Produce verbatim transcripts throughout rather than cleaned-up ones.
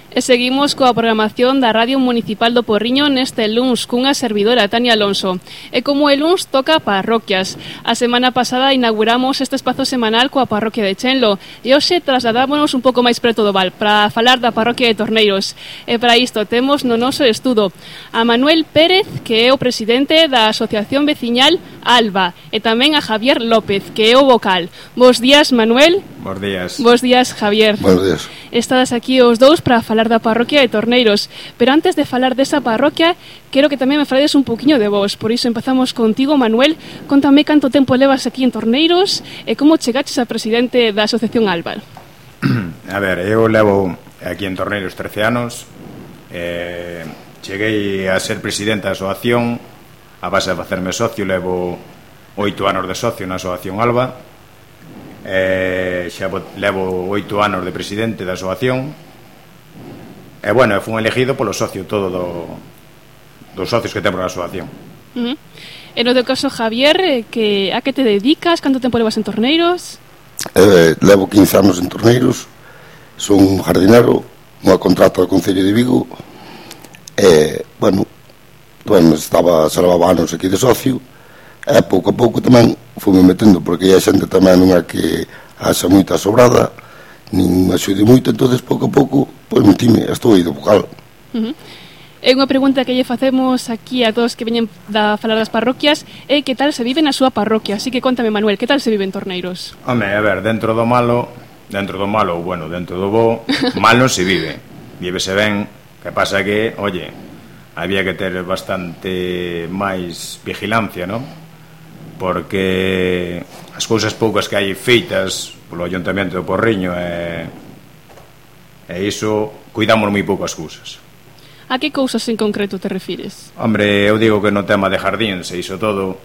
E seguimos coa programación da Radio Municipal do Porriño neste luns cunha servidora, Tania Alonso. E como el luns toca parroquias. A semana pasada inauguramos este espazo semanal coa parroquia de Chenlo e hoxe trasladámonos un pouco máis preto do Val para falar da parroquia de Torneiros. E para isto temos no noso estudo a Manuel Pérez, que é o presidente da Asociación Veciñal Alba, e tamén a Javier López, que é o vocal. Bos días, Manuel. Bos días. Bos días, Javier. Bos días. Estades aquí os dous para falar da parroquia de Torneiros, pero antes de falar desa parroquia, quero que tamén me falades un poquinho de vos. Por iso empezamos contigo, Manuel. Contame canto tempo levas aquí en Torneiros e como chegaches a presidente da Asociación Alba. A ver, eu levo aquí en Torneiros trece anos. eh, Cheguei a ser presidente da asociación a base de facerme socio. Levo oito anos de socio na Asociación Alba. Eh, xa levo oito anos de presidente da asociación. E bueno, fui elegido polo socio todo do, dos socios que temos na asociación. Uh -huh. E no teu caso, Javier, que a que te dedicas? Canto tempo levas en Torneiros? Eh, levo quince anos en Torneiros. Son un jardinero, unha contrata do Concello de Vigo. E, bueno, bueno estaba, se levaba anos aquí de socio. E pouco a pouco tamén fume metendo, porque a xente tamén non é que haxa moita sobrada, nin axude moito, entonces pouco a pouco pois metime, estou aí do vocal. Uh -huh. É unha pregunta que lle facemos aquí a todos que veñen da falar das parroquias, é que tal se vive na súa parroquia. Así que contame, Manuel, que tal se vive en Torneiros? Home, a ver, dentro do malo, dentro do malo, bueno, dentro do bo, mal non se vive. Vívese ben, que pasa que, oye, había que ter bastante máis vigilancia, non? Porque as cousas poucas que hai feitas polo Ayuntamento do Porriño e, e iso, cuidamos moi pouco as cousas. A que cousas en concreto te refires? Hombre, eu digo que no tema de jardín se iso todo,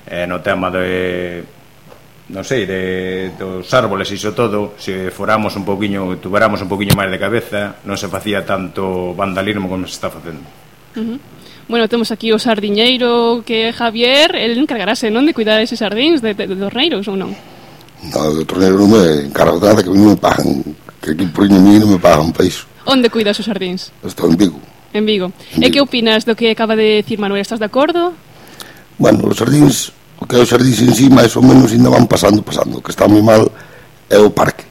e no tema de, non sei, de, dos árboles iso todo, se foramos un poquinho, tuveramos un poquinho máis de cabeza, non se facía tanto vandalismo como se está facendo. Uh -huh. Bueno, temos aquí o sardiñeiro que é Javier, el encargarase, non, de cuidar eses sardíns de, de, de Torneiros ou non? No, de Torneiros non me encargo de nada, que non me pagan, que aquí por mí non me pagan para iso. Onde cuidas os sardíns? Estou en Vigo. En Vigo. En E que Vigo. opinas do que acaba de decir Manuel? Estás de acordo? Bueno, os sardíns, o que é os sardíns en sí, máis ou menos ainda van pasando, pasando. O que está moi mal é o parque.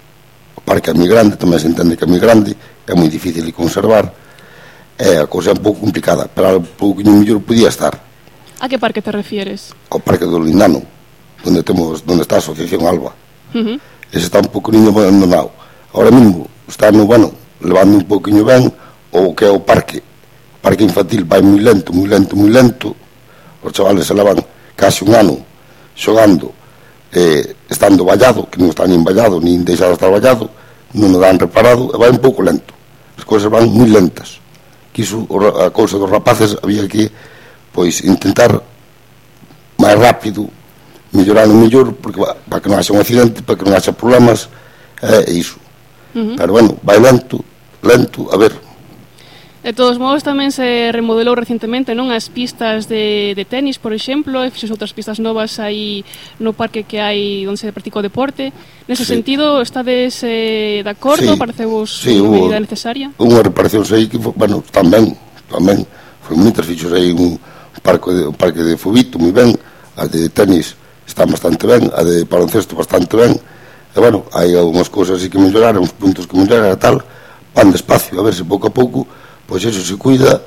O parque é moi grande, tamén se entende que é moi grande, é moi difícil de conservar. É, a cousa é un pouco complicada, pero un pouco mellor podía estar. A que parque te refieres? Ao parque do Lindano, onde temos, onde está a Asociación Alba. Uh -huh. Ese está un pouco niño abandonado. Ahora mesmo está no, bueno, levando un pouquinho ben o que é o parque. O parque infantil vai moi lento, moi lento, moi lento. Os chavales se levan casi un ano xogando, eh, estando vallado, que non está nin vallado, nin deixado estar vallado, non o dan reparado, e vai un pouco lento. As cousas van moi lentas. Que iso, a cousa dos rapaces había que pois intentar máis rápido mellorar o mellor, porque para que non haxa un accidente, para que non haxa problemas, é iso. Uh -huh. Pero bueno, vai lento, lento, a ver. De todos modos tamén se remodelou recentemente, non, as pistas de, de tenis, por exemplo, e fixos outras pistas novas aí no parque que hai onde se practica o deporte. Nese sí. sentido, estades eh, de acordo? Sí. Parecevos sí, unha hubo, medida necesaria? Unha reparación aí que, bueno, tamén, tamén, foi moitas fixos aí un parque de, un parque de fubito moi ben, a de tenis está bastante ben, a de baloncesto bastante ben, e bueno, hai algunhas cousas así que mellorar, uns puntos que mellorar e tal, van despacio, a ver se pouco a pouco pois eso se cuida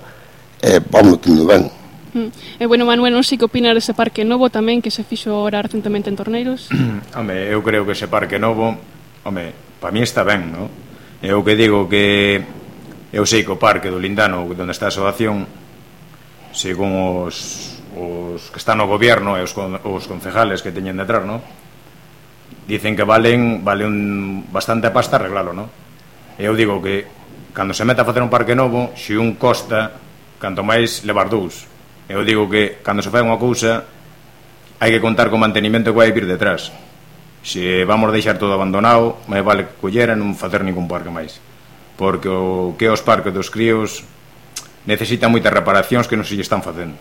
e vamos tendo ben. Mm. E bueno, Manuel, non sei que opinas dese parque novo tamén que se fixo ahora recentemente en Torneiros. Home, eu creo que ese parque novo, home, para mí está ben, non? Eu que digo que eu sei que o parque do Lindano, onde está a asociación, según os, os que están no goberno e os, os concejales que teñen detrás, non? Dicen que valen, vale un bastante pasta arreglalo, non? Eu digo que cando se mete a facer un parque novo, se un costa, canto máis levar dous. Eu digo que cando se fai unha cousa hai que contar co mantenimento que vai vir detrás. Se vamos deixar todo abandonado, máis vale que collera non facer ningún parque máis, porque o que os parques dos críos necesitan moitas reparacións que non se lle están facendo.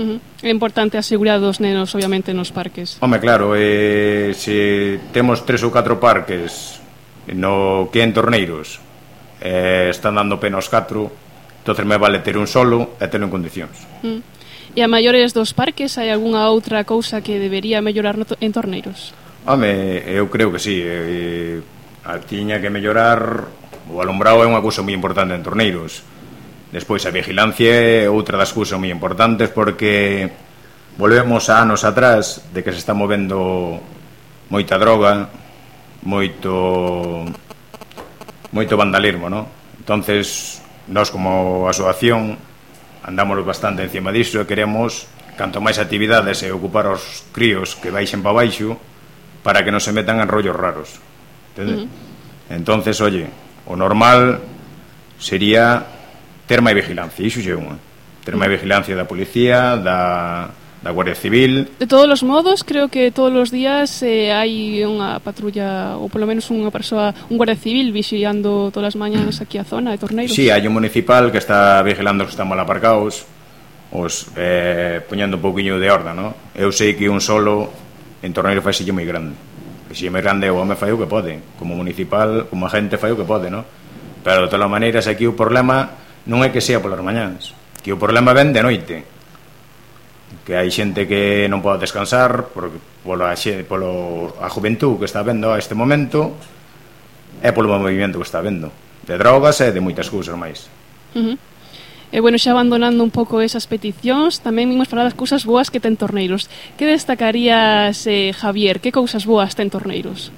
Uh -huh. É importante a seguridade dos nenos, obviamente, nos parques. Home, claro, eh, se temos tres ou catro parques no que en Torneiros eh, están dando pena aos catro, entonces me vale ter un solo e terlo en condicións. Mm. E a maiores dos parques hai algunha outra cousa que debería mellorar no to en Torneiros? Home, eu creo que sí, eh, a tiña que mellorar, o alumbrado é unha cousa moi importante en Torneiros. Despois a vigilancia é outra das cousas moi importantes, porque volvemos a anos atrás de que se está movendo moita droga, moito moito vandalismo, ¿no? Entonces, nós como asociación andamos bastante encima disso e queremos canto máis actividades e ocupar os críos que baixen para baixo para que non se metan en rollos raros, entende? Uh-huh. Entonces, oye, o normal sería ter máis vigilancia, iso é unha, ter máis vigilancia da policía, da, da Guardia Civil. De todos os modos, creo que todos os días eh, hai unha patrulla, ou polo menos unha persoa, un Guardia Civil vixiando todas as mañas aquí a zona de Torneiros. Sí, hai un municipal que está vigilando que están mal aparcados, os eh, poñendo un pouquiño de orde, ¿no? Eu sei que un solo en Torneiros fai sille moi grande, que sille moi grande o home fai o que pode, como municipal, como agente fai o que pode, ¿no? Pero de todas maneiras aquí o problema non é que sea polas mañáns, que o problema ven de noite, que hai xente que non pode descansar por, polo, polo a juventud que está vendo a este momento e polo movimento que está vendo de drogas e de moitas cousas máis. Uh-huh. E bueno, xa abandonando un pouco esas peticións, tamén vimos falar das cousas boas que ten Torneiros. Que destacarías, eh, Javier? Que cousas boas ten Torneiros?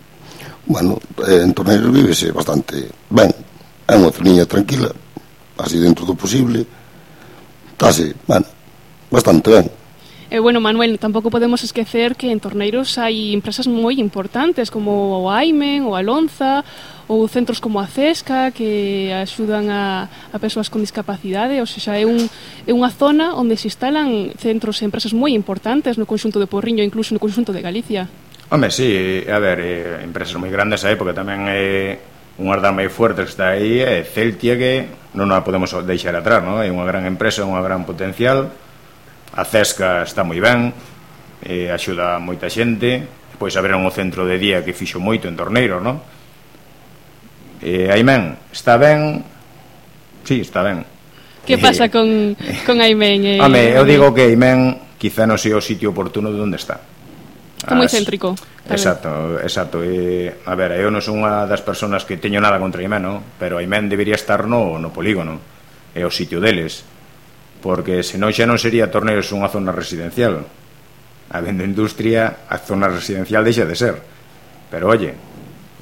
Bueno, en Torneiros vívese bastante ben, é unha zoniña tranquila, así dentro do posible, estáse, bueno, bastante ben. E bueno, Manuel, tampouco podemos esquecer que en Torneiros hai empresas moi importantes como o Aimen, o Alonza, ou centros como a Cesca que axudan a, a persoas con discapacidade, ou seja, é, un, é unha zona onde se instalan centros e empresas moi importantes no conxunto de Porriño, incluso no conxunto de Galicia. Home, sí, a ver, eh, empresas moi grandes aí, porque tamén é unha das máis fuertes que está aí, é Celtia, que non a podemos deixar atrás, non? É unha gran empresa, unha gran potencial. A Cesca está moi ben, eh, axuda a moita xente. Depois abriron o centro de día que fixo moito en Torneiros, non? Eh, Aimen, está ben? Sí, está ben. Que pasa con, con Aimen? Eh, Home, eu digo que Aimen quizá non sea o sitio oportuno de onde está. Está moi céntrico. Exacto, exacto. E, a ver, eu non son unha das persoas que teño nada contra Aimen, no? Pero Aimen debería estar no, no polígono, é o sitio deles, porque senón xa non sería Torneiros unha zona residencial. Habendo industria, a zona residencial deixa de ser. Pero, oye,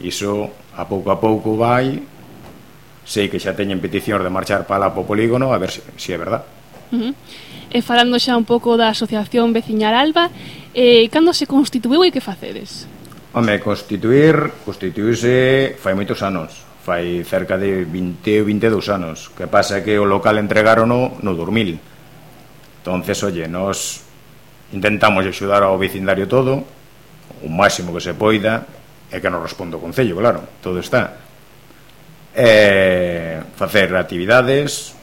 iso a pouco a pouco vai, sei que xa teñen peticións de marchar para lá po polígono, a ver se si, si é verdad. Uh-huh. E falando xa un pouco da Asociación Veciñal Alba, eh, cando se constituiu e que facedes? Home, constituir, constituirse fai moitos anos, fai cerca de vinte ou vinte e dous anos. Que pasa que o local entregarono no dormil. Entonces, oye, nos intentamos axudar ao vecindario todo, o máximo que se poida, e que nos responde o Concello, claro, todo está. E facer actividades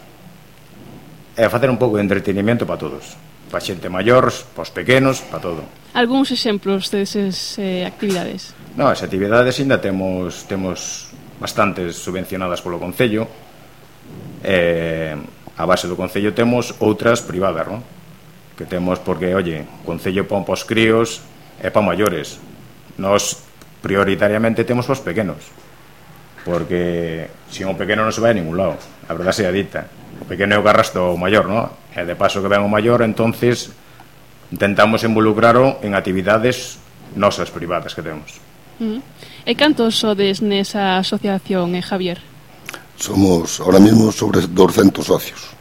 e facer un pouco de entretenimento para todos, para xente maior, para os pequenos, para todo. Algúns exemplos desas eh, actividades? No, as actividades ainda temos temos bastantes subvencionadas polo Concello. Eh, a base do Concello temos outras privadas, non? Que temos porque, oye, o Concello pon para os críos e para maiores. Nos prioritariamente temos para os pequenos, porque se un pequeno non se vai a ningún lado, a verdade sea dita. O pequeno é o que arrastra o maior, non? E de paso que ven o maior, entonces intentamos involucraro en actividades nosas privadas que temos. Uh-huh. E cantos sodes nesa asociación, eh, Javier? Somos ahora mismo sobre doscientos socios.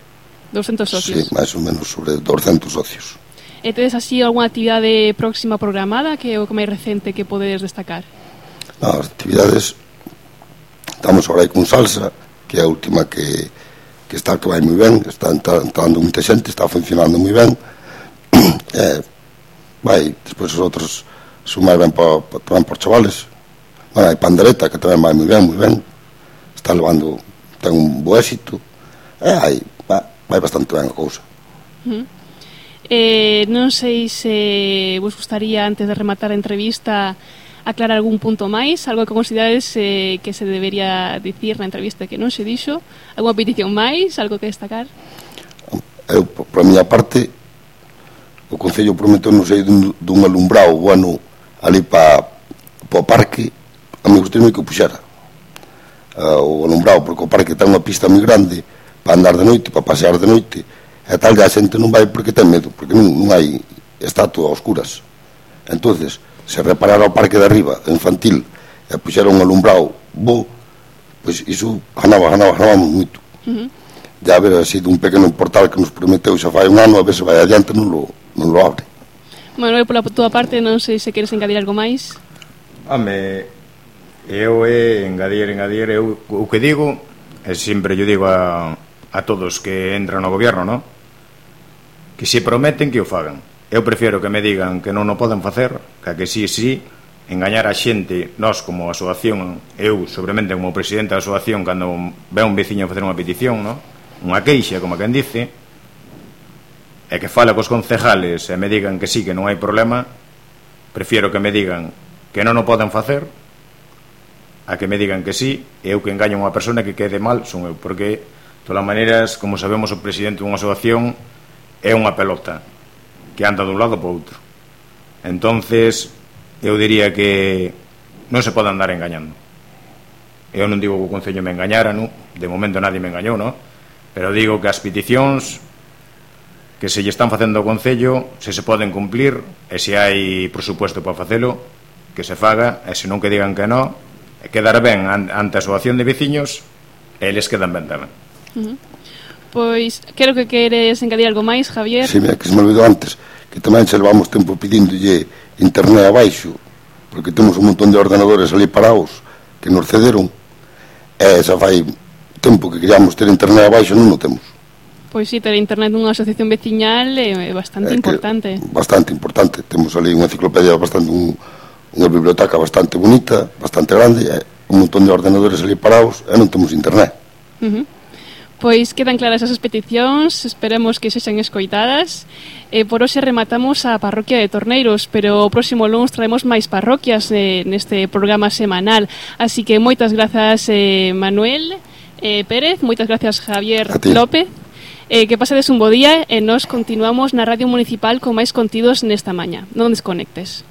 doscientos socios? Sí, máis ou menos sobre doscientos socios. E tedes así algunha actividade próxima programada que é o máis recente que podedes destacar? No, as actividades estamos agora aí con salsa, que é a última que que está que vai moi ben, está entrando moita xente, está funcionando moi ben. Eh, vai, despois os outros son máis ben para tamén por chavales. Bueno, hai pandereta que tamén vai moi ben, moi ben. Está levando, ten un bo éxito. Eh, hai, vai, vai bastante ben a cousa. Uh-huh. Eh, non sei se vos gustaría, antes de rematar a entrevista, aclarar algún punto máis, algo que considerades eh, que se debería dicir na entrevista que non se dixo, algunha petición máis, algo que destacar? Eu, por a miña parte, o Concello prometeu non sei dun, dun alumbrado bueno ali para pa o parque, a mí gustaría que o puxera uh, o alumbrado, porque o parque ten unha pista moi grande para andar de noite, para pasear de noite, e tal, que a xente non vai porque ten medo, porque non, non hai estatua a oscuras. Entonces, se reparara o parque de arriba, infantil, e puxera un alumbrado bo, pois iso ganaba, ganaba, ganaba moito. Uh -huh. Ya a ver, así dun pequeno portal que nos prometeu xa fai un ano, a ver se vai adiante, non lo, non lo abre. Manuel, pola túa parte, non sei se queres engadir algo máis. Home, eu é engadir, engadir, eu o que digo, e sempre yo digo a, a todos que entran no gobierno, non? Que se prometen que o fagan. Eu prefiro que me digan que non o poden facer, que a que sí, sí, engañar a xente, nós como asociación, eu, sobremente como presidente da asociación, cando ve un veciño a facer unha petición, non? Unha queixa, como quen dice, e que fala cos concejales e me digan que sí, que non hai problema, prefiro que me digan que non o poden facer a que me digan que sí, e eu que engaño a unha persona que quede mal son eu, porque, de todas maneiras, como sabemos, o presidente dunha asociación é unha pelota que anda dun lado para outro. Entonces eu diría que non se pode andar engañando. Eu non digo que o Concello me engañara, non? De momento nadie me engañou, non? Pero digo que as peticións que se lle están facendo ao Concello, se se poden cumplir, e se hai presupuesto para facelo, que se faga, e se non que digan que non, e quedar ben ante a asociación de veciños, e eles quedan ben tamén. Uh -huh. Pois, creo que queres engadir algo máis, Javier. Si, sí, mira, que se me olvidou antes, que tamén se levamos tempo pedíndolle internet abaixo, porque temos un montón de ordenadores ali parados que nos cederon, e xa fai tempo que queríamos ter internet abaixo, non o temos. Pois si, sí, ter internet nunha asociación veciñal é bastante é importante. Bastante importante, temos ali unha enciclopedia bastante, un, unha biblioteca bastante bonita, bastante grande, e un montón de ordenadores ali parados, e non temos internet. Uh -huh. Pois quedan claras esas peticións, esperemos que sexan escoitadas. E por hoxe rematamos a parroquia de Torneiros, pero o próximo luns traemos máis parroquias eh, neste programa semanal. Así que moitas grazas, eh, Manuel eh, Pérez, moitas grazas, Javier López. Eh, que pasedes un bo día e nos continuamos na Radio Municipal con máis contidos nesta maña. Non desconectes.